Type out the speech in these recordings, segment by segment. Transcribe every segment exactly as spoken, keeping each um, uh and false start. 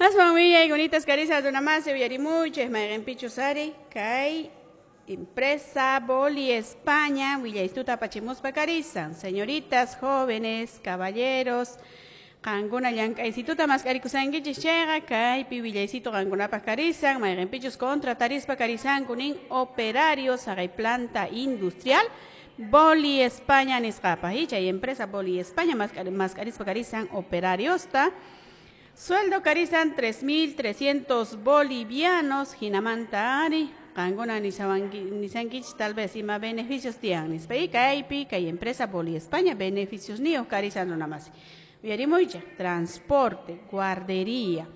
Aswan willaykunitas karisan runamasi uyarimuychik mayqinpichus ari kay empresa Boli España willaystuta apachimuspa karisan. Señoritas, jóvenes, caballeros, qankuna llank'aysituta mask'arikusankichis chayqa kaypi willaysitu qankunapaq karisan mayqinpichus contratarispa karisanku nin operarios haqay planta industrial Boli España nisqapaq y chay empresa Boli España mask'arispa karisan operariosta. Sueldo karisan tres mil trescientos bolivianos hinamanta ari qankuna nisankichis tal vez ima beneficios tiyan nispa y kaypi kay empresa Boli España beneficios niyuq karisan runamasi. Uyarimuychik transporte, guardería,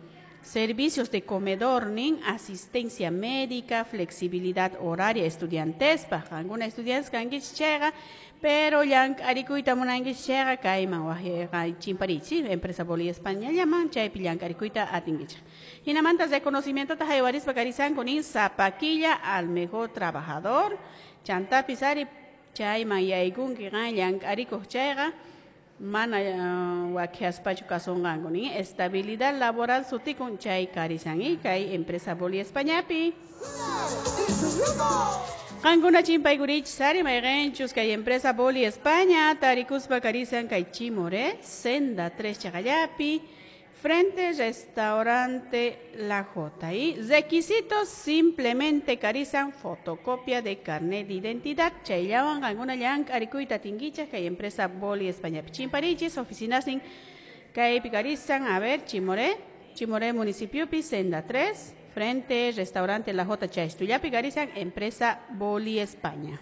servicios de comedor nin, asistencia médica, flexibilidad horaria estudiantespaq qankuna estudiantes kankichis chayqa pero llank'arikuyta munankichis chayqa kayman waqyayqa chimparichis empresa Boli España llaman chaypi llank'arikuyta atinkichik. Hinamanta reconocimientota haywarispa karisanku nin sapa killa al mejor trabajador chantapis ari chayman yaykunki qan llank'arikuq chayqa mana uh, wakiaspachu kasunqanku nin estabilidad laboral sutikun chay karisan y kay empresa Boli Españapi. Qankuna chimpaykurichis ari mayqinchus kay empresa Boli España tarikuspa karisan kay Chimoré senda tres chaqallapi frente restaurante La Jota. Y requisitos simplemente karisan fotocopia de carnet de identidad chayllawan qankuna llank'arikuyta atinkichik kay empresa Boli España. Chimparichis oficinas nin kaypi karisan a ver Chimoré Chimoré municipiopi senda tres frente restaurante La Jota chaystullapi karisan empresa Boli España.